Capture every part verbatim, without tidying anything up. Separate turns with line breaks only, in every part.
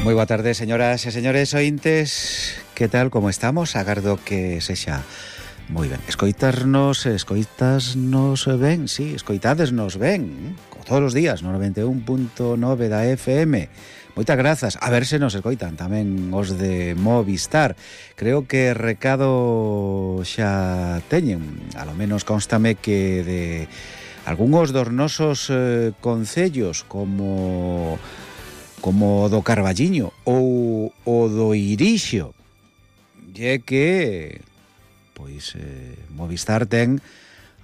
Moi boa tarde, señoras e señores ointes. Que tal, como estamos? Agardo que sexa moi ben. Escoitarnos, escoitasnos ben, sí, escoitadesnos ben, como todos os días, no noventa e un punto nove da F M. Moitas grazas. A ver se nos escoitan tamén os de Movistar. Creo que recado xa teñen. A lo menos constame que de algúns dos nosos eh, concellos, como como do Carballiño ou o do Irixo, é que pois eh, Movistar ten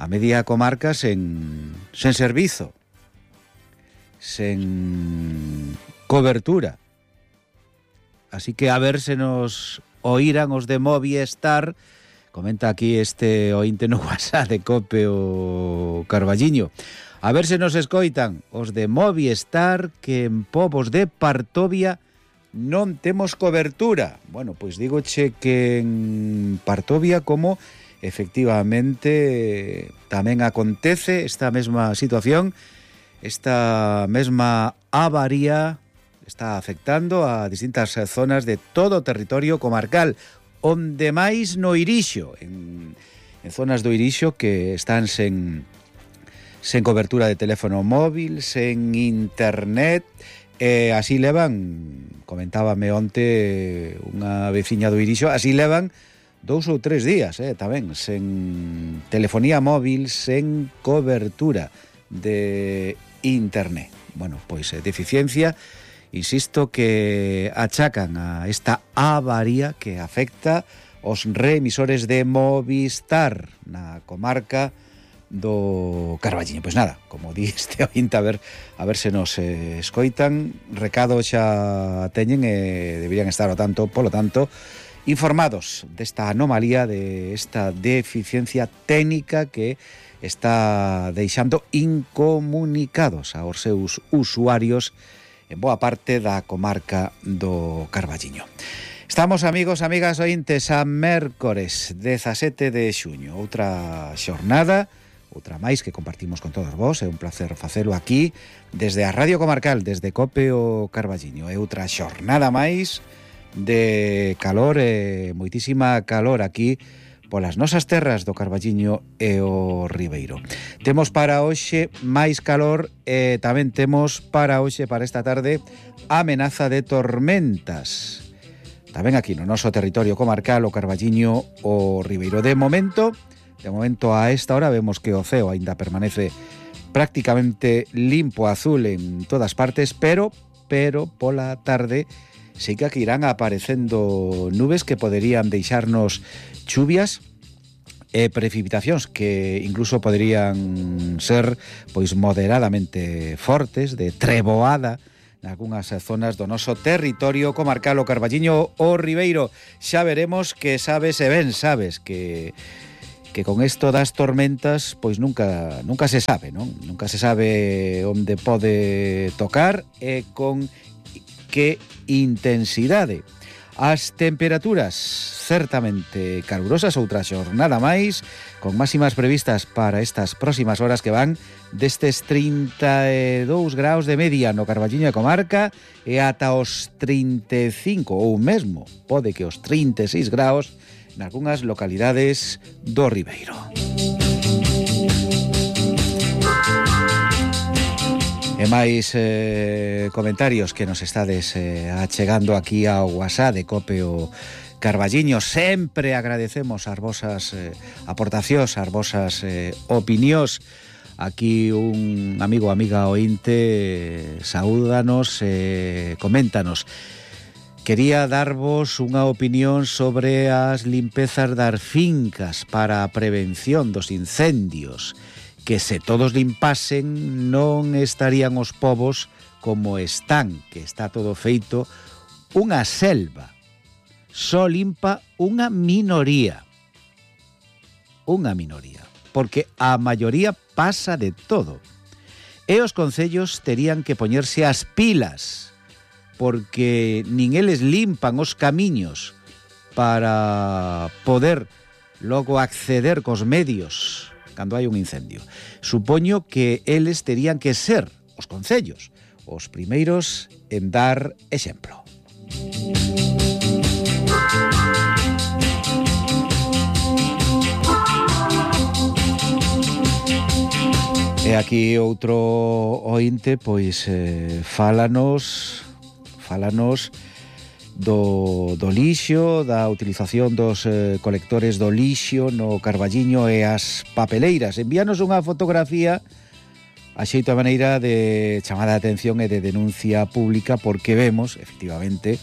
a media comarca sen, sen servizo, sen cobertura. Así que a ver se nos oíran os de Movistar. Comenta aquí este ointe no WhatsApp de Cope o Carballiño. A ver se nos escoitan os de Movistar, que en Pobos de Partovia non temos cobertura. Bueno, pois digoche que en Partovia, como efectivamente tamén acontece esta mesma situación, esta mesma avaría está afectando a distintas zonas de todo o territorio comarcal, onde máis no Irixo, en, en zonas do Irixo que están sen sen cobertura de teléfono móvil, sen internet, e así levan, comentábame onte unha veciña do Irixo, así levan dous ou tres días, eh, tamén, sen telefonía móvil, sen cobertura de internet. Bueno, pois eh, deficiencia, insisto, que achacan a esta avaría que afecta os reemisores de Movistar na comarca do Carballiño. Pois nada, como di este ointe, a ver, a ver se nos eh, escoitan. Recado xa teñen e deberían estar ao tanto, polo tanto, informados desta anomalía, de esta deficiencia técnica que está deixando incomunicados aos seus usuarios en boa parte da comarca do Carballiño. Estamos, amigos, amigas ointes, a mércores dezasete de xuño, outra xornada, outra máis que compartimos con todos vos. É un placer facelo aquí desde a Radio Comarcal, desde Cope o Carballiño. É outra xornada máis de calor, e moitísima calor aquí polas nosas terras do Carballiño e o Ribeiro. Temos para hoxe máis calor e tamén temos para hoxe, para esta tarde, amenaza de tormentas. Tamén aquí no noso territorio comarcal, o Carballiño o Ribeiro. De momento, de momento a esta hora vemos que o ceo aínda permanece prácticamente limpo, azul en todas partes, pero pero pola tarde sí que aquí irán aparecendo nubes que poderían deixarnos chuvias e precipitacións que incluso poderían ser pois moderadamente fortes, de treboada nalgúnas zonas do noso territorio comarcal, o Carballiño o Ribeiro. Xa veremos, que sabes e ben sabes que que con isto das tormentas pois nunca nunca se sabe, non? Nunca se sabe onde pode tocar e con que intensidade. As temperaturas certamente calurosas, outra xornada máis, con máximas previstas para estas próximas horas que van destes trinta e dous graus de media no Carballiño e comarca e ata os trinta e cinco, ou mesmo pode que os trinta e seis graus nalgúnas localidades do Ribeiro. E máis eh, comentarios que nos estades eh, achegando aquí ao WhatsApp de Cope o Carballiño. Sempre agradecemos as vosas eh, aportacións, as vosas eh, opinións. Aquí un amigo, amiga ointe, saúdanos, eh, coméntanos. Quería darvos unha opinión sobre as limpezas das fincas para a prevención dos incendios, que se todos limpasen non estarían os povos como están, que está todo feito unha selva. Só limpa unha minoría. Unha minoría. Porque a maioría pasa de todo. E os concellos terían que poñerse as pilas, porque nin eles limpan os camiños para poder logo acceder cos medios cando hai un incendio. Supoño que eles terían que ser, os concellos, os primeiros en dar exemplo. E aquí outro ointe, pois, eh, fálanos, fálanos do, do lixo, da utilización dos eh, colectores do lixo no Carballiño e as papeleiras. Envíanos unha fotografía a xeito a maneira de chamada de atención e de denuncia pública, porque vemos, efectivamente,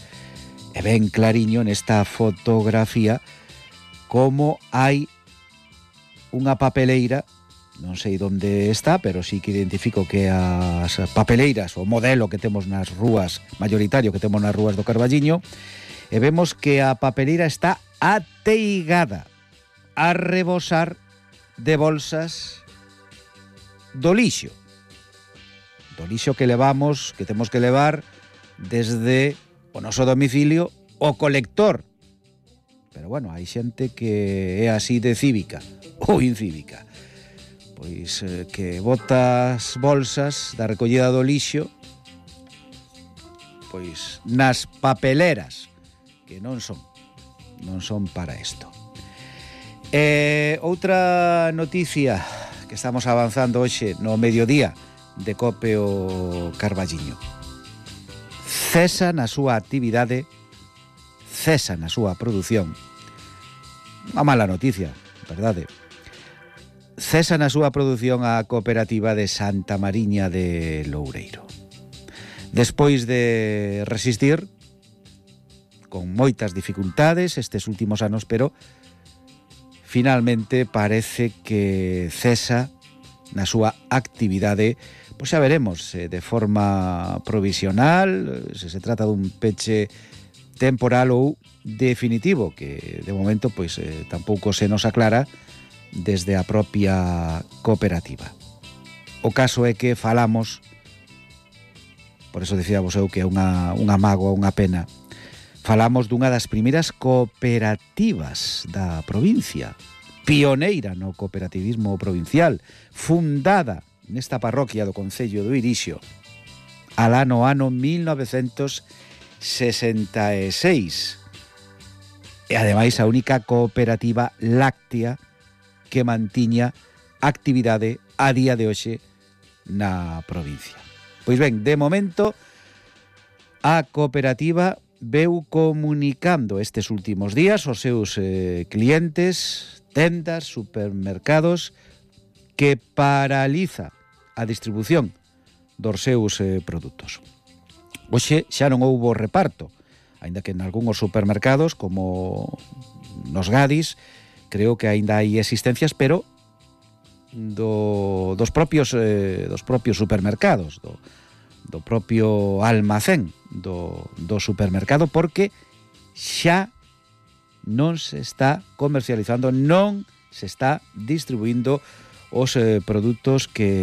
e ben clariño nesta fotografía, como hai unha papeleira. Non sei onde está, pero sí que identifico que as papeleiras, o modelo que temos nas rúas, mayoritario que temos nas rúas do Carballiño, e vemos que a papeleira está ateigada a rebosar de bolsas do lixo. Do lixo que levamos, que temos que levar desde o noso domicilio o colector. Pero bueno, hai xente que é así de cívica ou incívica. Pois eh, que bota as bolsas da recollida do lixo pois nas papeleras, que non son non son para isto. E outra noticia que estamos avanzando hoxe no mediodía de Cope o Carballiño. Cesa na súa actividade, cesa na súa produción. Unha mala noticia, verdade. Cesa na súa produción a cooperativa de Santa Mariña de Loureiro. Despois de resistir con moitas dificultades estes últimos anos, pero finalmente parece que cesa na súa actividade, pois xa veremos se de forma provisional, se se trata dun peche temporal ou definitivo, que de momento pois eh, tampouco se nos aclara desde a propia cooperativa. O caso é que falamos, por eso dicíamos eu que é unha, unha mágoa, unha pena, falamos dunha das primeiras cooperativas da provincia, pioneira no cooperativismo provincial, fundada nesta parroquia do concello do Irixo alá no ano mil novecentos sesenta e seis, e ademais a única cooperativa láctea que mantiña actividade a día de hoxe na provincia. Pois ben, de momento a cooperativa veu comunicando estes últimos días aos seus eh, clientes, tendas, supermercados, que paraliza a distribución dos seus eh, produtos. Hoxe xa non houbo reparto, aínda que en algúns supermercados, como nos Gadis, creo que aínda hai existencias, pero do, dos propios eh, dos propios supermercados, do, do propio almacén do, do supermercado, porque xa non se está comercializando, non se está distribuindo os eh, produtos que